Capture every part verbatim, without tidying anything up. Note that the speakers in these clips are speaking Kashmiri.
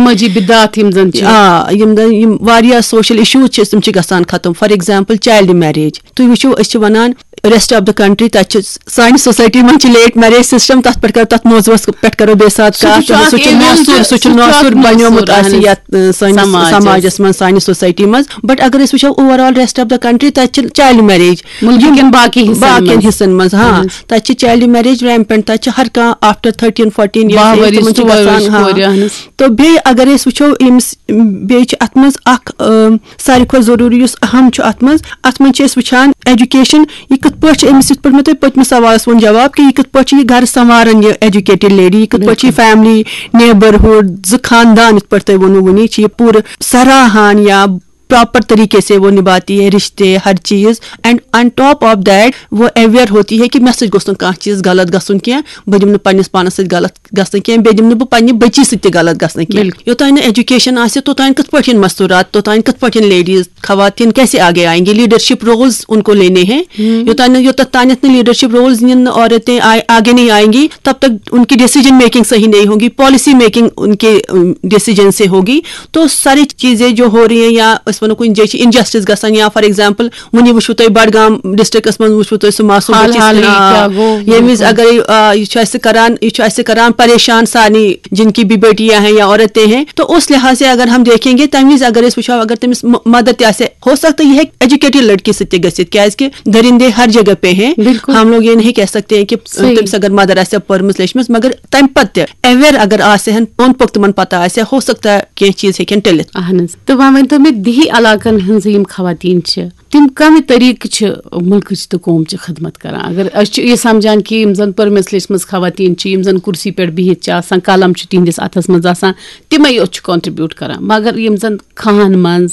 سمٲجی بدعات یِم زَن چھِ۔ آ یِم زَن یِم واریاہ سوشل ایشوز چھِ تِم چھِ گژھان ختم. For example, child marriage. تُہۍ وٕچھِو، أسۍ چھِ وَنان ریسٹ آف دا کنٹری، تَتہِ چھِ سانہِ سوسایٹی منٛز چھِ لیٹ میریج سسٹم، تَتھ پٮ۪ٹھ کَرو، تَتھ موضوعس پٮ۪ٹھ کَرو بیٚیہِ ساتہٕ سُہ تہِ کَتھ. چھُ اکھ سُہ چھُ event، مۄسوٗر، سُہ سُہ چھُ چھُ اکھ مۄسوٗر مۄسوٗر، بَنیومُت اہن اَسہِ حظ، یَتھ اَ، سٲنِس سماجَس۔ سماجَس منٛز، سانہِ سوسایٹی منٛز. بٹ اگر أسۍ وٕچھو over all rest of the country, تَتہِ چھِ چایلڈ میریج مُلکہٕ کٮ۪ن باقٕے حصن باقین منٛز۔ حصن منٛز، ہاں، اہن حظ۔ تَتہِ چھِ چایلڈ میریج ریمپینٹ، تَتہِ چھِ ہر کانٛہہ آفٹر تھرٹیٖن فورٹیٖن باہ ؤرِش، تِمن چھِ ژور ؤرِش گژھان، ہاں. کورِ، اہن حظ۔ تہٕ بیٚیہِ اگر أسۍ وٕچھو أمِس، بیٚیہِ چھِ اَتھ منٛز اَکھ، اۭں، ساروی کھۄتہٕ ضروٗری یُس اہم چھُ اَتھ منٛز، اَتھ منٛز چھِ أسۍ وٕچھان ایجوکیشن، یہِ کِتھ پٲٹھۍ چھِ أمِس، یِتھ پٲٹھۍ مےٚ تۄہہِ پٔتمِس سوالَس ووٚن جواب کہِ یہِ کِتھ پٲٹھۍ چھِ یہِ گرٕ سنواران، یہِ ایجوکیٹڈ لیڈی، یہِ کِتھ پٲٹھۍ چھِ یہِ فیملی، نیبرہُڈ، زٕ خاندان، یِتھ پٲٹھۍ تۄہہِ ووٚنوُ وُنی، چھِ یہِ پوٗرٕ سراہان یا پراپر طریقے سے وہ نبھاتی ہے رشتے، ہر چیز. And on top of that وہ اویئر ہوتی ہے کہ مےٚ سۭتۍ گوٚژھ نہٕ کانٛہہ چیٖز غلط گژھُن کینٛہہ، بہٕ دِمہٕ نہٕ پننِس پانس سۭتۍ غلط گژھنہٕ کینٛہہ، بیٚیہِ دِمہٕ نہٕ بہٕ پننہِ بٔچی سۭتۍ تہِ غلط گژھنہٕ کینٛہہ. یوٚتانۍ نہٕ ایجوکیشن آسہِ، توٚتانۍ کِتھ پٲٹھۍ یِن مستوٗرات، توٚتانۍ کِتھ پٲٹھۍ یِن لیڈیٖز، خواتین کیسے آگے آئیں گی، لیڈرشپ رولز ان کو لینے ہیں. یوٚتانۍ نہٕ، یوٚتتھ تانٮ۪تھ نہٕ لیڈرشپ رولز نِن نہٕ عورتیں آئے-، آگے نہیں آئیں گی، تب تک ان کی ڈیسیجن میکنگ صحیح نہیں ہوگی، policy making in K decision سے ہوگی. تو ساری چیزیں جو ہو رہی ہیں، یا أسۍ وَنو کُنہِ جایہِ چھِ انجسٹس گژھان، یا فار ایگزامپل وٕنی وٕچھو تۄہہِ بڈگام ڈسٹرکٹس منٛز وٕچھو تۄہہِ سُہ معصوم حال بٔچی حالٕے سۭتۍ، آ، کیٛاہ گوٚو، ییٚمہِ وِزِ بِلکُل۔ اگر آ، یہِ چھُ اَسہِ کران، یہِ چھُ اَسہِ کران پریشان سارنٕے، جن کی بھی بیٹیاں ہیں یا عورتیں ہیں، تو اس لحاظ سے اگر ہم دیکھیں گے تَمہِ وِزِ اگر أسۍ وٕچھو اگر تٔمِس م- مدد تہِ آسہِ، ہو سکتا ہے یہِ ہیٚکہِ ایجوکیٹڈ لڑکی سۭتۍ تہِ گٔژھِتھ، کیازِ کہِ درندے ہر جگہ پہ ہیں. بِلکُل۔ ہم لوگ یہ نہیں کہہ سکتے ہیں کہ صحیح۔ تٔمِس اگر مدر آسہِ پٔرمٕژ لیچھمٕژ، مگر تَمہِ پتہٕ تہِ اویئر اگر آسہِ ہن، اوٚنٛد پوٚک تِمن پتہ آسہِ ہا، ہو سکتا ہے کینٛہہ چیٖز ہیٚکن ٹٔلِتھ. اہن حظ۔ تہٕ وۄنۍ ؤنۍ تو مےٚ، دِہی علاقن ہٕنٛز یِم خواتین چھِ، تِم کمہِ طریٖقہٕ چھِ مُلکٕچ تہٕ قومچہِ خدمت کران؟ اگر أسۍ چھِ یہِ سمجھان کہِ یِم زن پٔرمٕژ لیچھمٕژ خواتین چھِ، یِم زن کُرسی پٮ۪ٹھ بِہِتھ چھِ آسان، قلم چھُ تِہنٛدِس اتھس منٛز آسان، تِمے یوت چھِ کنٹریبیوٹ کران، مگر یِم زن کھاہن منٛز،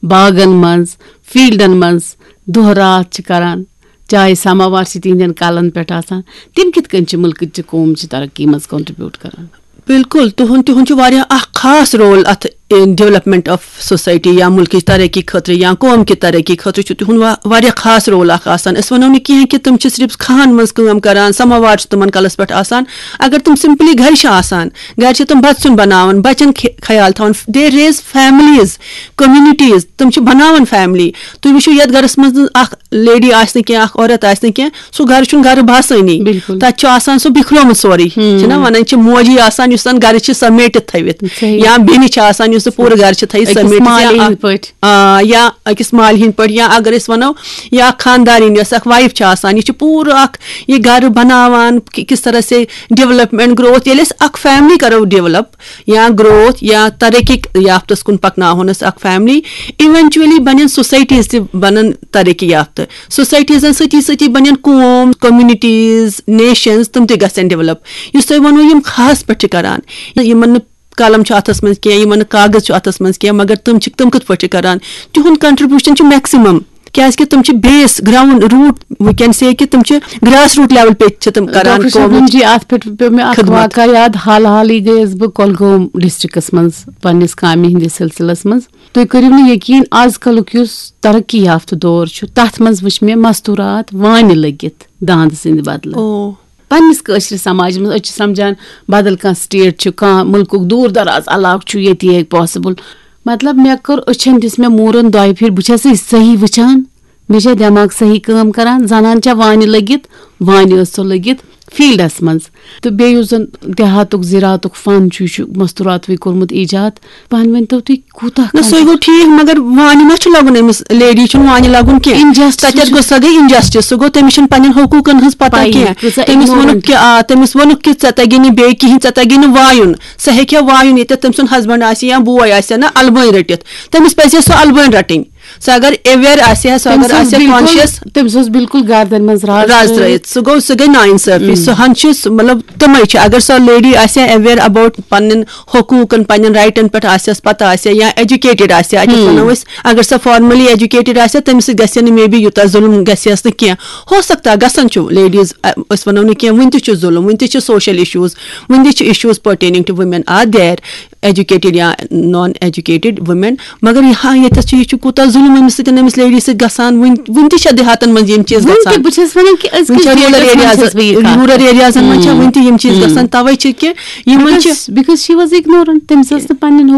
باغن منٛز، فیلڈن منٛز دۄہ راتھ چھِ کران، چاہے سماوار چھِ تِہنٛدٮ۪ن کلن پٮ۪ٹھ آسان، تِم کِتھ کٔنۍ چھِ مُلکٕچہِ قومچہِ ترقی منٛز کنٹریبیوٹ کران؟ بالکل، تُہُنٛد تِہُنٛد چھُ واریاہ اکھ خاص رول اتھ ڈیولپمنٹ آف سوسایٹی یا مُلکٕچ ترقی خٲطرٕ یا قوم کہِ ترقی خٲطرٕ چھُ تِہُنٛد وا- واریاہ خاص رول اکھ آسان. أسۍ ونو نہٕ کینٛہہ کہِ تِم چھِ صرف کھاہن منٛز کٲم کران، سماوار چھُ تِمن کلس پٮ۪ٹھ آسان. اگر تِم سمپلی گرِ چھِ آسان، گرِ چھِ تِم بتہٕ سیُن بناوان، بچن خ- خیال تھاوان، they raise families, communities، تِم چھِ بناوان فیملی. تُہۍ وٕچھِو یتھ گرس منٛز نہٕ اکھ لیڈی آسہِ نہٕ کینٛہہ، اکھ عورت آسہِ نہٕ کینٛہہ، سُہ گرٕ چھُنہٕ گرٕ باسٲنی. بِلکُل۔ تتہِ چھُ آسان سُہ بِکھرومُت سورُے، چھِنہ ونان، چھِ موجی آسان یُس زن گرٕ چھِ سمیٹِتھ تھٲوِتھ، صحیح۔ یا بیٚنہِ چھِ آسان یُس سُہ پوٗرٕ گرٕ چھِ تھٲیِتھ أکِس سمیٹِتھ، مالہِ یا ہِنٛدۍ اکھ- پٲٹھۍ۔ آ، یا أکِس مالہِ ہِنٛدۍ پٲٹھۍ، یا اگر أسۍ ونو یا خاندارِنۍ یۄس اکھ وایف چھِ آسان، یہِ چھِ پوٗرٕ اکھ یہِ گرٕ بناوان، کہ- کس طرح سے ڈیولپمنٹ گروتھ، ییٚلہِ أسۍ اکھ فیملی کرو ڈیولپ یا گروتھ یا ترقی یافتس کُن پکناوہون أسۍ اکھ فیملی، ایونچولی بنن سوسایٹیز تہِ بنن ترقی یافتہٕ. سوسایٹیزن سۭتی سۭتی بنن قوم، کمیونٹیز، نیشنز، تِم تہِ گژھن ڈیولپ. یُس تۄہہِ ووٚنوُ یِم کھاہس پٮ۪ٹھ چھِ کران، یِمن نہٕ قلم چھُ اتھس منٛز کینٛہہ، یِمن نہٕ کاغذ چھُ اتھس منٛز کینٛہہ، مگر تِم چھِ، تِم کِتھ پٲٹھۍ چھِ کران؟ تِہُنٛد کنٹریبیوشن چھُ میکسِمم، کیازِ کہِ تِم چھِ base, ground, route, we can say کہِ تِم چھِ گراس روٗٹ لیول پہ چھِ تِم کران ڈاکٹر قومٕچ شبنم جی، اتھ پٮ۪ٹھ پیوٚو مےٚ اکھ خدمت۔ واقعہ یاد۔ حال حالٕے گٔیَس بہٕ کۄلگوم ڈسٹرکٹس منٛز پننِس کامہِ ہٕنٛدِس سلسلس منٛز۔ تُہۍ کٔرِو نہٕ یقین، از کلُک یُس ترقی یافتہٕ دور چھُ، تتھ منٛز وٕچھ مےٚ مستورات وانہِ لٔگِتھ داند سٕنٛدِ بدلہٕ۔ او۔ پننِس کٲشرِس سماجس منٛز أسۍ چھِ سمجھان بدل کانٛہہ سٹیٹ چھُ، کانٛہہ مُلکُک دوٗر دراز علاقہٕ چھُ، ییٚتی ہیٚکہِ پاسبل۔ مطلب، مےٚ کٔر أچھن، دِژ مےٚ موٗرن دۄیہِ پھِرِ، بہٕ چھَس یہِ صحیح وٕچھان، مےٚ چھا دٮ۪ماغ صحیح کٲم کران؟ زنان چھا وانہِ لٔگِتھ، وانہِ ٲس سۄ لٔگِتھ فیلڈس منٛز۔ تہٕ بیٚیہِ یُس زن دیہاتُک زِراعتُک فن چھُ، یہِ چھُ مستوراتوٕے کوٚرمُت ایجاد۔ پانہٕ ؤنۍ تو تُہۍ کوٗتاہ نہ، سُہ کم گوٚو ٹھیٖک، مگر وانہِ ما چھُ لگُن أمِس، لیڈی چھُنہٕ وانہِ لگُن کینٛہہ۔ Injustice تَتٮ۪تھ چھُ۔ گوٚو، سۄ گٔے انجسٹس، سُہ گوٚو، تٔمِس چھُنہٕ پننٮ۪ن حقوٗقن ہٕنٛز پتہ پَیی، کینٛہہ۔ کۭژاہ تٔمِس ignorant۔ ووٚنُکھ کہِ، آ، تٔمِس ووٚنُکھ کہِ ژےٚ تگی نہٕ بیٚیہِ کِہیٖنۍ، ژےٚ تگی نہٕ وایُن۔ سۄ ہیٚکہِ ہا وایُن، ییٚتٮ۪تھ تٔمۍ سُنٛد ہسبنڈ آسہِ یا بوے آسہِ ہا نہ البٲنۍ رٔٹِتھ، تٔمِس پزِ ہا سۄ البٲنۍ رٹٕنۍ۔ سۄ اگر اویئر آسہِ ہا، سۄ تٔمِس اگر اوس آسہِ ہا بالکل، کانشیس۔ تٔمِس اوس بالکل گردن منٛز راز راز ترٲوِتھ۔ ترٲوِتھ، سُہ گوٚو، سُہ گٔے ناانصٲفی۔ سُہ ہن چھِ سُہ، مطلب، تِمے چھِ، اگر سۄ لیڈی آسہِ ہا اویئر اباؤٹ پننٮ۪ن حقوٗقن، پننٮ۪ن رایٹن پٮ۪ٹھ آسہِ ہس پتہ آسہِ ہا یا ایجوکیٹڈ آسہِ ہا، اَتہِ وَنو أسۍ، اگر سۄ فارملی ایجوکیٹڈ آسہِ ہا، تٔمِس سۭتۍ گژھِ ہا نہٕ مے بی یوٗتاہ ظُلم گژھِ ہس نہٕ کینٛہہ۔ ہو سکتا ہے گژھان چھُ، لیڈیز، اَ، أسۍ وَنو نہٕ کینٛہہ، وُنہِ تہِ چھُ ظُلم، وُنہِ تہِ چھِ سوشل ایشوز، وُنہِ تہِ چھِ issues pertaining to women are there، educated یا نان ایجوکیٹڈ وومین۔ مگر یہِ ہا ییٚتٮ۪تھ چھُ، یہِ چھُ کوٗتاہ ظُلم أمِس سۭتۍ، أمِس لیڈی سۭتۍ گژھان۔ وُنہِ، وُنہِ تہِ چھےٚ دیہاتن منٛز یِم چیٖز وُنہِ تہِ گژھان۔ بہٕ چھَس وَنان کہِ أزکِس وُنہِ چھےٚ روٗرل date منٛز ایریاز، چھَس بہٕ یہِ کَتھ۔ روٗرل ایریازن منٛز چھےٚ وُنہِ تہِ یِم چیٖز گژھان۔ تَوَے چھِ کہِ یِمن چھِ because she was ignorant، تٔمِس ٲس نہٕ پنٕنٮ۪ن